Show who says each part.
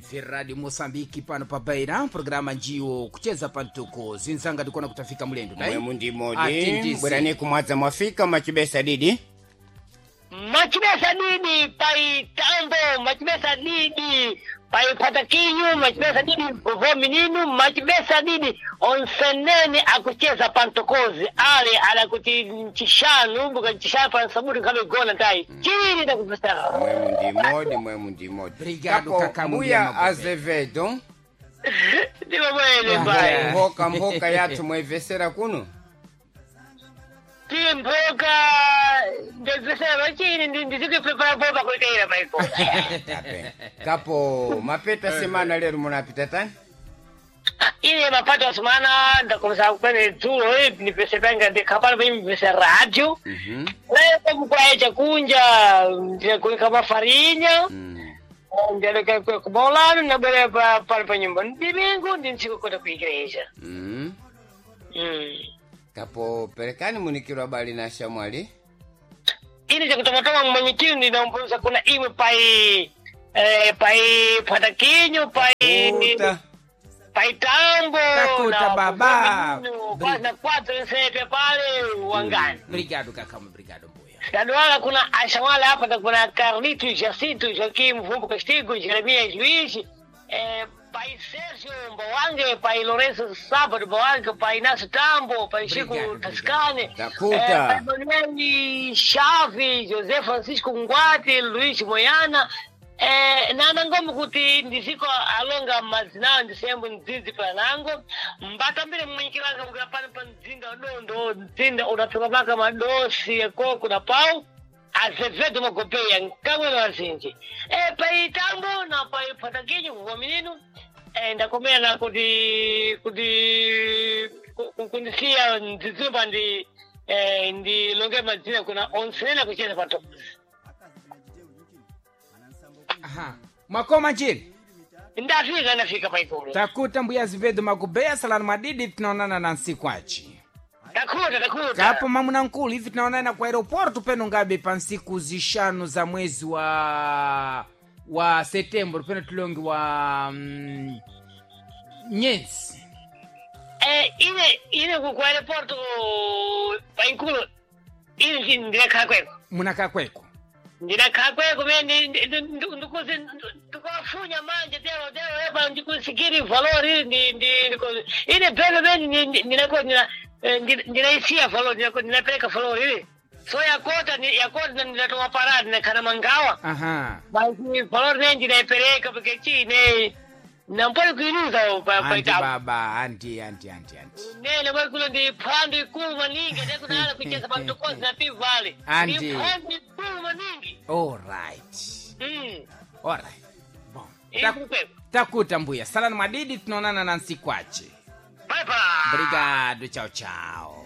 Speaker 1: Ferrari Moçambique pano pa Beira, programa njiwo kucheza pantuko zinzanga ndikuona kutafika mulendo dai?
Speaker 2: Mwemu ndimodi
Speaker 1: Atindisi.
Speaker 2: bwerani kumwadza mwafika machibesa didi.
Speaker 3: Machibesa didi pai tambo, machibesa didi pai patakinyu, machibesa didi vo mininu, machibesa didi onsenene akucheza pantokozi ale ala kuti nchishanu mbuka nchishanu pansaburi nkame gona tai chini ndakupesa.
Speaker 2: Mwemu ndimodi, mwemu ndimodi.
Speaker 1: Obrigado,
Speaker 2: Kapo,
Speaker 1: kaka
Speaker 2: mbuya
Speaker 1: Mbuya
Speaker 2: Azevedo.
Speaker 3: Ndiwo mwene pai.
Speaker 2: Mhoka mhoka yathu mwayivesera kuno.
Speaker 3: Timboka ndezesera chini ndizikuprepara boba kuiteira maiko.
Speaker 2: Tape. Kapo mapeta semana lero munapita tani?
Speaker 3: Ine mapato asumana ndakomesa kwene dzulo nipese panga ndikhapano pimipese radio.
Speaker 2: Mhm.
Speaker 3: Leko mukwaye chakunja ndikuika mafarinya. Ndaleka kumaulano nabwera pano pa nyumba ndimingu ndi ntsiku kwenda ku igreja.
Speaker 2: Kapo perekani munikiro abali na shamwali.
Speaker 3: Ine chakutomatoma mmanyikiro ndinampuza kuna imwe pai pai patakinyo pai
Speaker 2: Uta.
Speaker 3: pai tambo.
Speaker 1: Takuta
Speaker 3: na
Speaker 1: baba.
Speaker 3: Na kwatro nsepe pale wangani.
Speaker 1: Obrigado kakamu, obrigado mbuya.
Speaker 3: Dadwala kuna Ashawala hapa na kuna Carlito Jacinto Joaquim Mvumbo Castigo Jeremias Luiz, pai Sérgio Mbowange, pai Lourenço Sábado Mbowange, pai Inácio Tambo, pai Chico
Speaker 1: Obrigado,
Speaker 3: Tascane,
Speaker 2: Takuta.
Speaker 3: pai Manuel Chaves, José Francisco Ngwati, Luiz Moiana, nanangomo kuti ndiziko alonga mazina ndisembo ndzinzi panango mbatambire mmanyikilanga mukira pano pa mdzinda udondo mdzinda udaphika maka madosi ekoko na pau Azevedo Magopeya nkamwe wazinji paitambo na paipatakinyu kuva mininu ndakomera na kuti kuti kundisiya ndidzimba ndi ndilonge madzina kuna onsena kucheza pato.
Speaker 1: Aha. Mwakoma njiri
Speaker 3: Ndafika, ndafika paikulu.
Speaker 1: takuta mbuya Azevedo Magobeya salani madidi tunaonana na nsiku achi.
Speaker 3: Takuta, takuta.
Speaker 1: Kapo mamuna nkulu hivi tunaonana kwa aeroporto peno ngabe pa nsiku zishanu za mwezi wa setembro peno tulongi wa nyenzi.
Speaker 3: Ine ku aeroporto paikulu ine ndinakhala kweko.
Speaker 1: Munakakweko.
Speaker 3: Ndinakhala kweko mene ndikuzi ndikuwafunya manje tero tero epa ndikusikiri valori ine belo mene ndinako ndinaisiya valori ndinapereka valori ili so yakota yakota ndinatowa paradi ndinakhala mangawa.
Speaker 1: Aha.
Speaker 3: Basi valori ne ndinaipereka porque chine nampoli kuiluza
Speaker 1: Anti
Speaker 3: paitapo.
Speaker 1: baba, anti anti anti anti.
Speaker 3: Nene bwe kulo ndi phwando ikulu maningi atekunala kucheza pamtokozi na pivale.
Speaker 1: Andi.
Speaker 3: Ndi phwando ikulu maningi.
Speaker 1: All right. All right. Bom.
Speaker 3: Ikukweko.
Speaker 1: Takuta mbuya. Salani madidi tunaonana na nsiku achi.
Speaker 3: Bye bye.
Speaker 1: Obrigado, tchau tchau.